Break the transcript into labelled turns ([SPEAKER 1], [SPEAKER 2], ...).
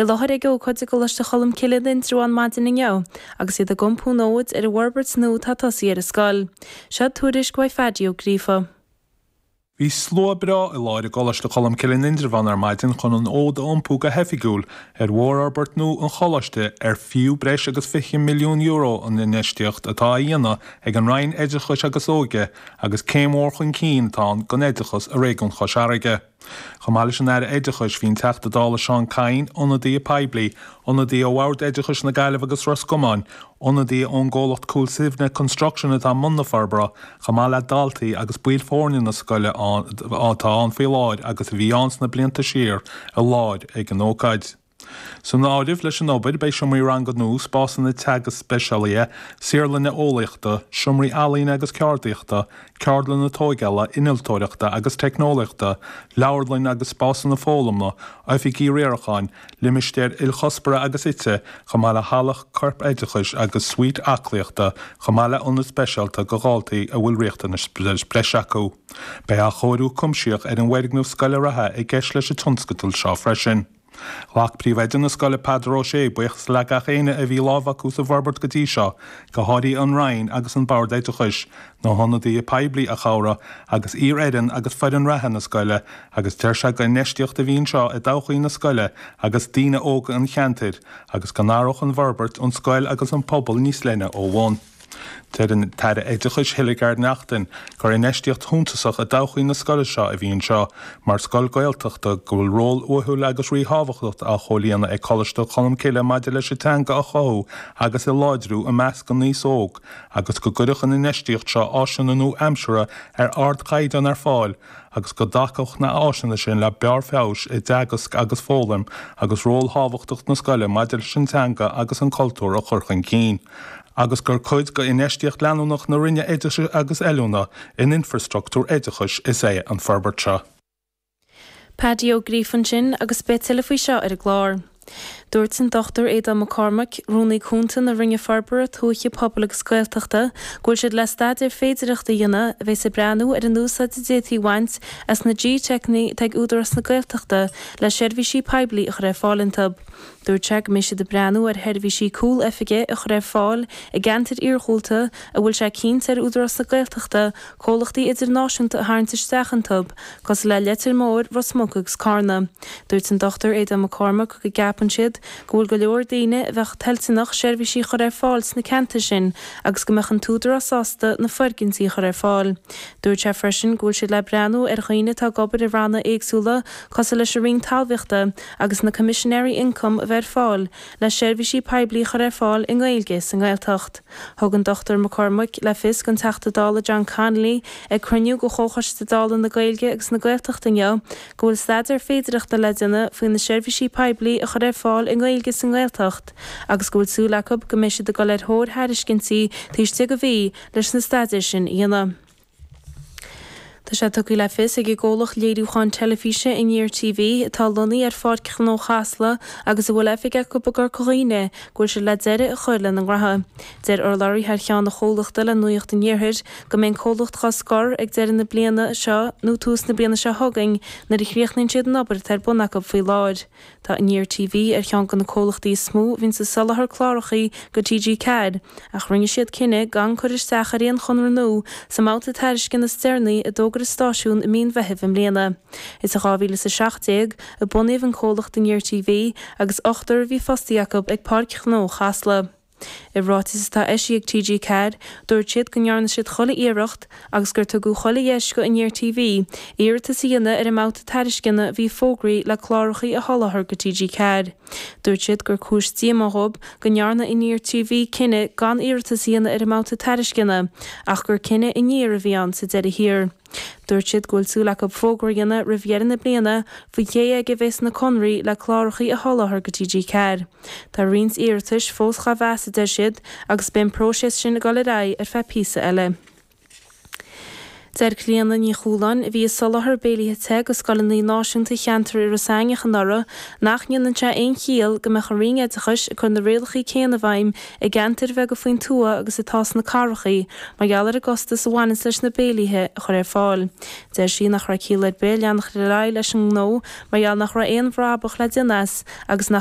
[SPEAKER 1] I láthair ag ócáid i gColáiste Cholmcille in Indreabhán maidin inniu agus iad ag iompú an fhóid ar an bhforbairt nua atá tosaithe ar an scoil. Seo tuairisc uaidh Phaidí Ó Gríofa.
[SPEAKER 2] Bhí slua breá i láthair i gColáiste Cholmcille in Indreabhán ar maidin chun an fhód a iompú go hoifigiúil ar mhórfhorbairt nua an choláiste ar fiú breis agus €20 milliún an infheistíocht atá á dhéanamh ag an Roinn Oideachais agus Óige agus céim mhór chun cinn atá ann don oideachas i réigiún Chois Fharraige. Chomh maith leis an Aire Oideachais, bhí an Teachta Dála Seán Kyne, ionadaithe poiblí, ionadaithe ó Bhord Oideachais na Gaillimhe agus Ros Comáin, ionadaithe ón gcomhlacht Cúil Suibhne Construction atá i mbun na forbartha, chomh maith le daltaí agus baill foirne na scoile atá ann faoi láthair agus a bhí ann sna blianta siar i láthair ag an ócáid. San áireamh leis an obair beidh seomraí ranga nua, spásanna teagaisc speisialaithe, saotharlanna eolaíochta, seomraí ealaíne agus ceardaíochta, ceardlanna tóigeála, innealtóireachta agus teicneolaíochta, leabharlann agus spásanna foghlama, oifigí riaracháin, limistéir ilchuspóra agus ite, chomh maith le halla corp-oideachais agus suite aclaíochta, chomh maith le ionad speisialta do dhaltaí a bhfuil riachtanais breise acu. Beidh athchóiriú cuimsitheach ar an bhfoirgneamh scoile reatha i gceist leis an tionscadal seo freisin. Ghlac Príomhoide na scoile Peadar Ó Sé buíochas le gach éinne a bhí lámh acu sa bhforbairt go dtí seo, go háirithe an Roinn agus an Bord Oideachais, na hionadaithe poiblí a chabhraigh, agus iar-fhoireann agus foireann reatha na scoile, agus deir sé gur infheistíocht a bhí anseo i dtodhchaí na scoile agus daoine óga an cheantair, agus go n-athródh an bhforbairt an scoil agus an pobal níos leithne ó bhun. Deir an tAire Oideachais Hildegarde Naughton gur infheistíocht shuntasach i dtodhchaí na scoile seo a bhí anseo mar scoil Gaeltachta, go bhfuil ról uathúil agus ríthábhachtach á chomhlíonadh ag Coláiste Cholmcille maidir leis an teanga a chothú agus a láidriú i measc an aos óg agus go gcuirfeadh an infheistíocht seo áiseanna nua-aimseartha ar ardchaighdeán ar fáil agus go dtacódh na háiseanna sin le barr feabhais i dteagasc agus foghlaim agus ról thábhachtach na scoile maidir leis an teanga agus an cultúr a chur chun cinn. agus gur cuid d'infheistíocht leanúnach na Roinne Oideachais agus Oiliúna in infreastruchtúr oideachais is ea an forbairt seo.
[SPEAKER 1] Paddy Ó Gríofa ansin agus beidh tuilleadh faoi seo ar an gclár. Dúirt an Dr Aodán Mac Cormaic, Rúnaí Cúnta na Roinne Forbartha Tuaithe, Pobail agus Gaeltachta, go bhfuil siad le staidéar féidearthachta a dhéanamh a bheas ag breathnú ar an úsáid a d'fhéadfaí a bhaint as na G-Techanna atá ag Údarás na Gaeltachta le seirbhísí poiblí a chur ar fáil iontu. Dúirt sé go mbeidh siad ag breathnú ar sheirbhísí cúl oifige a chur ar fáil i gceantair iarghúlta a bhfuil sé cinnte ar Údarás na Gaeltachta comhlachtaí idirnáisiúnta a tharraingt isteach iontu, cosúil le Leitir Móir, Ros Muc agus Carna. Dúirt an Dr Aodán Mac Cormaic go gceapann siad go bhfuil go leor daoine a bheadh toilteanach seirbhísí a chur ar fáil sna ceantair sin agus go mbeadh an tÚdarás sásta na foirgintí a chur ar fáil. Dúirt sé freisin go bhfuil siad le breathnú ar dhaoine atá ag obair i ranna éagsúla cosúil leis an Roinn Talmhaíochta agus na Coimisinéirí Ioncaim a bheith ar fáil le seirbhísí poiblí a chur ar fáil i nGaeilge sa nGaeltacht. Thug an Dr Mac Cormaic le fios don Teachta Dála John Connolly ag cruinniú de Chomhchoiste Dála na Gaeilge agus na Gaeltachta inniu go bhfuil staidéar féidearthachta le déanamh faoi na seirbhísí poiblí a chur ar fáil i nGaeilge sa nGaeltacht agus go bhfuil súil acu go mbeidh siad ag dul ar thóir thairiscintí taobh istigh de mhí leis na staidéir sin a dhéanamh. Tá sé tugtha le fios ag an gcomhlacht léiriúcháin teilifíse Aniar TV, atá lonnaithe ar Pháirc Ghnó Chasla agus a bhfuil oifig acu i gCorca Dhuibhne, go bhfuil siad le deireadh a chur lena ngnótha. Deir urlabhraí thar cheann an chomhlachta le Nuacht an Iarthair go mbeidh an comhlacht dhá scor ag deireadh na bliana seo nó tús na bliana seo chugainn nuair a chríochnaíonn siad an obair atá ar bun acu faoi láthair. Tá Aniar TV ar cheann de na comhlachtaí is mó a bhíonns ag soláthar clárachaí go TG4 ach rinne siad cinneadh gan cur isteach ar aon chonradh nua sa mbabhta tairisceana is deireanaí a d'fhógair an stáisiún i mí an Mheithimh i mbliana. Is i 2017 a bunaíodh an comhlacht Aniar TV agus ochtar a bhí fostaithe acu ag Páirc Ghnó Chasla. I ráiteas atá eisithe ag TG4, dúirt siad go ndearna siad chuile iarracht agus gur tugadh chuile dheis go Aniar TV iarratas a dhéanamh ar an mbabhta tairisceana a bhí fógraithe le clárachaí a sholáthar go TG4. Dúirt siad gur cúis díomá dhóibh go ndearna Aniar TV cinneadh gan iarratas a dhéanamh ar an mbabhta tairisceana ach gur cinneadh Aniar a bhí ann sa deireadh thiar. Dúirt siad go bhfuil súil acu fógra a dhéanamh roimh dheireadh na bliana faoi cé aige a bheas na conraí le clárachaí a sholáthar go TG4. Tá roinnt iarratais fós dhá mheas, a deir siad, agus beidh an próiseas sin ag dul ar aghaidh ar feadh píosa eile. Deir Clíona Ní Chualáin, a bhí ag soláthar béilithe te go scoileanna náisiúnta cheantar Iorras Aithneach anuraidh, nach ndéanann sé aon chiall go mbeadh an Roinn Oideachais ag cur na rialacha céanna i bhfeidhm i gceantair bheaga faoin tuath agus atá sna cathrachaí mar gheall ar an gcostas a bhaineanns leis na béilithe a chur ar fáil. Deir sí nach raibh ciall ar bith leanacht ar aghaidh leis an ngnó mar gheall nach raibh aon bhrabach le déanamh as agus nach.